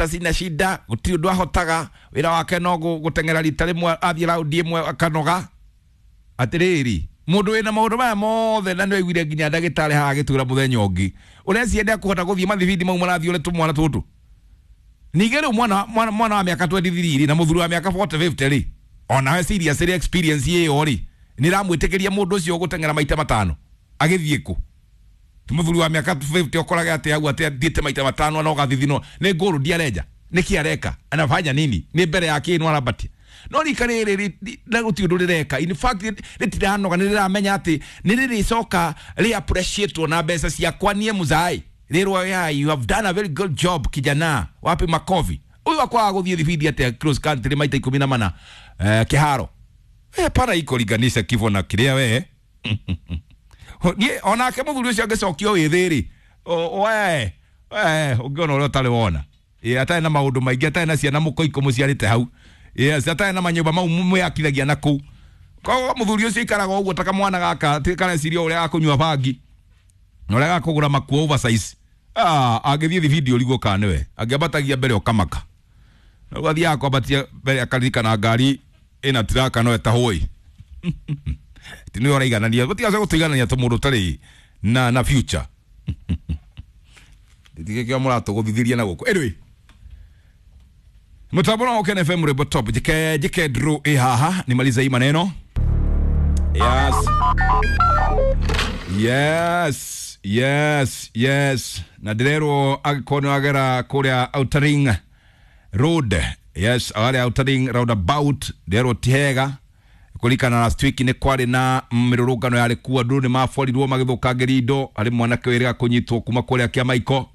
hata sina shida, gũtirĩ ũndũ ahotaga, wĩra wake no gũteng'era rita rĩmwe athiĩ raundi ĩmwe akanoga. Atĩrĩrĩ, mũndũ wĩna maũndũ maya mothe na nĩwaiguire nginya ndagĩtarĩ haha agĩtwĩra mũthenya ũngĩ, ũreciria ndekũhota gũthiĩ mathibindi mau marathiĩ ũrĩ tũmwana tũtũ? Ningĩ rĩu mwana wa mĩaka 23 rĩ, na mũthuri wa mĩaka 40 50 rĩ, onawe serious rĩ, experience ĩyo rĩ, nĩ ĩramwĩtĩkĩria mũndũ ũcio gũteng'era maita matano agĩthiĩ kũ? Ti mũthuri wa mĩaka 50 ũkorage atĩ hau atĩ athiĩte maita matano na ũgathithinwo nĩ ngũrũ ndiarenja, nĩkĩ areka, anafanya nini, nĩ mbere ya kĩ no arambatia. No rika rĩrĩ na gũtirĩ ũndũ rĩreka, in fact rĩtiranoga, nĩ rĩramenya atĩ nĩ rĩrĩcoka rĩ appreciate na mbeca ciakwa niĩ mũzai rĩrwo ya you have done a very good job kijana, wapi makofi. Ũyũ akwaga gũthiĩ thibindi atĩa cross country maita 14 kĩharo. Pana iko linganisha kifo na kĩrĩa we. Niĩ onake mũthuri ũcio angĩcokio wĩthĩ rĩ, we ũngĩona ũrĩa ũtarĩ wona. Atarĩ na maũndũ maingĩ, atarĩ na ciana mũkoiko mũciarĩte hau. Yes, atarĩ na manyũmba mau mwĩakithagia na kũu. Koguo mũthuri ũcio aikaraga ũguo ta kamwana gaka, kareciria ũrĩa gakũnyua bangi na ũrĩa gakũgũra makuo oversize. Angĩthiĩ thibindi ũrigwo kana nĩwe, angĩambatagia mbere ũkamaka. Na rĩu athiaga kwambatia mbere akaririkana ngari ĩna tiraka no ĩtahũĩ. Ti nĩwe ũraiganania, gũtigaca gũtũiganania ta mũndũ ũtarĩ na future. Ndigĩkĩo mũratũgũthithĩria na gũkũ. Anyway, mũtambo wa Ken FM Rwĩmbo Top, njĩke draw ĩ haha nimalize hii maneno. Yes. Yes, yes, yes. Na ndĩrerwo angĩkorwo nĩ wagera kũrĩa Outer Ring Road. Yes, harĩa Outer Ring roundabout, ndĩrerwo ti hega. Kũririkana last week nĩ kwarĩ na mĩrũrũngano yarĩ kuo, andũ nĩ maborirwo magĩthũkangĩria indo, harĩ mwanake wĩrĩga kũnyitwo kuma kũrĩa Kĩamaiko.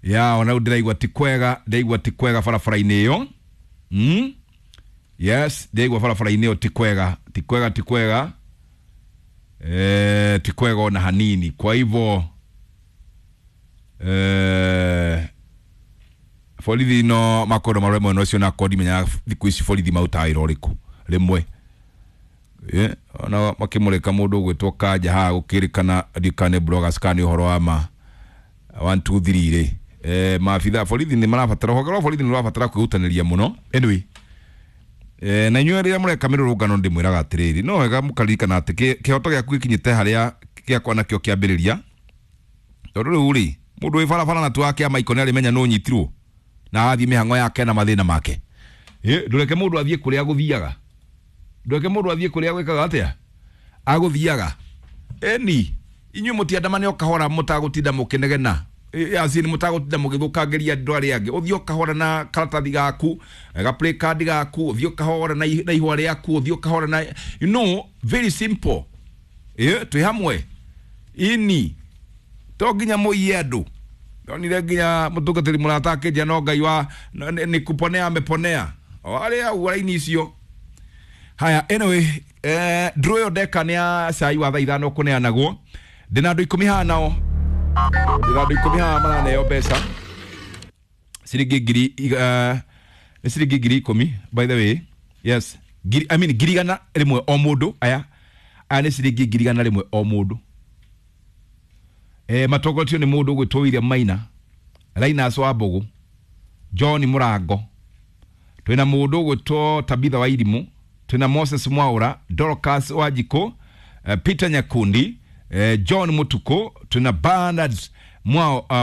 Ya ona rĩu ndĩraigua ti kwega, ndĩraigua ti kwega barabara-inĩ ĩyo. Yes, ndĩraigua barabara-inĩ ĩyo ti kwega, ti kwega, ti kwega. Ti kwega ona hanini. Kwa hivyo borithi no makorwo marore mwena ũcio na akorwo ndimenyaga thikũ ici borithi marutaga wĩra ũrĩkũ rĩmwe. Ona makĩmũrĩka mũndũ ũgwĩtwo Kanja haha gũkĩrĩkana ndikane bloggers kana nĩ ũhoro wa ma 1 2 3 rĩ. Maabitha borithi nĩ marabatara, rũhonge rwa borithi nĩ rũrabatara kwĩrutanĩria mũno. Anyway, na inyuĩ rĩrĩa mũreka mĩrũrũngano ndĩmwĩraga atĩrĩrĩ, no wega mũkaririkana atĩ kĩhoto gĩaku gĩkinyĩte harĩa gĩakwa nakĩo kĩambĩrĩria. Tondũ rĩu rĩ, mũndũ wĩ barabara na tu wa Kĩamaiko nĩ arĩmenya nũ ũnyitirwo na athiĩ mĩhang'o yake na mathĩna make. Ndũreke mũndũ athiĩ kũrĩa agũthiaga, ndũreke mũndũ athiĩ kũrĩa gwĩkaga atĩa agũthiaga. Eni inyuĩ mũtiandamane o kahora, mũtagũtinda mũkĩnegena, acini mũtagũtinda mũgĩthũkangĩria andũ arĩa angĩ. Ũthiĩ o kahora na karatathi gaku, ga play card gaku, ũthiĩ o kahora na ihũa rĩaku, ũthiĩ o kahora na you know, very simple. Twĩ hamwe. Ini to nginya mũiye andũ. Ndonire nginya mũtungatĩri mũrata akĩnjia no Ngai wa nĩ kuponea ameponea. O arĩa au raini icio. Haya, anyway, draw ĩyo ndeka nĩ ya cai wa thaa ithano kũneanagwo. Ndĩna andũ 10 haha nao. Ndĩna andũ 10 haha maraneo mbeca. Ciringi ngiri nĩ ciringi ngiri 10 by the way. Yes. Ngiri, I mean ngiri igana rĩmwe o mũndũ. Aya. Aya nĩ ciringi ngiri igana rĩmwe o mũndũ. Matongoretio nĩ mũndũ ũgwĩtwo William Maina, Linus wa Mbũgũ, John Mũrango, twĩna mũndũ ũgwĩtwo Tabitha wa Irimũ, twĩna Moses Mwaura, Dorcas wa Njikũ, Peter Nyakundi, John Mutuku, twĩna Bernard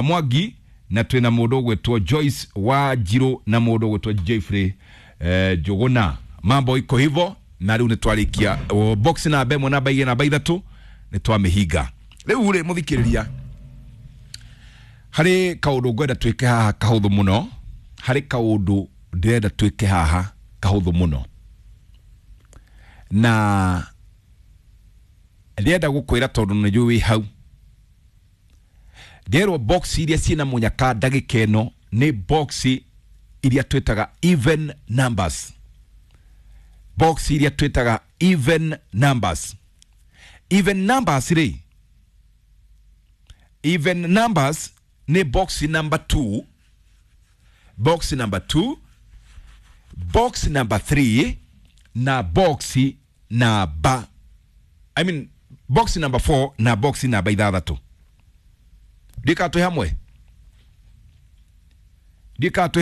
Mwangi, na twĩna mũndũ ũgwĩtwo Joyce wa Njirũ na mũndũ ũgwĩtwo Jeffrey Njũgũna. Mambo iko hivyo, na rĩu nĩ twarĩkia box namba 1, namba 2, namba 3 nĩ twamĩhinga. Rĩu rĩ mũthikĩrĩria, harĩ kaũndũ ngwenda twĩke haha kahũthũ mũno, harĩ kaũndũ ndĩrenda twĩke haha kahũthũ mũno, na ndĩrenda gũkwĩra tondũ nĩ njũĩ wĩ hau. Ndĩrerwo box iria ciĩna mũnyaka ndagĩka ĩno nĩ box iria twĩtaga even numbers. Box iria twĩtaga even numbers. Even numbers rĩ, even numbers nĩ box number 2, box number 2, box number 3 na box namba, I mean box number 4 na box namba 6. Ndika twĩ hamwe, ndika twĩ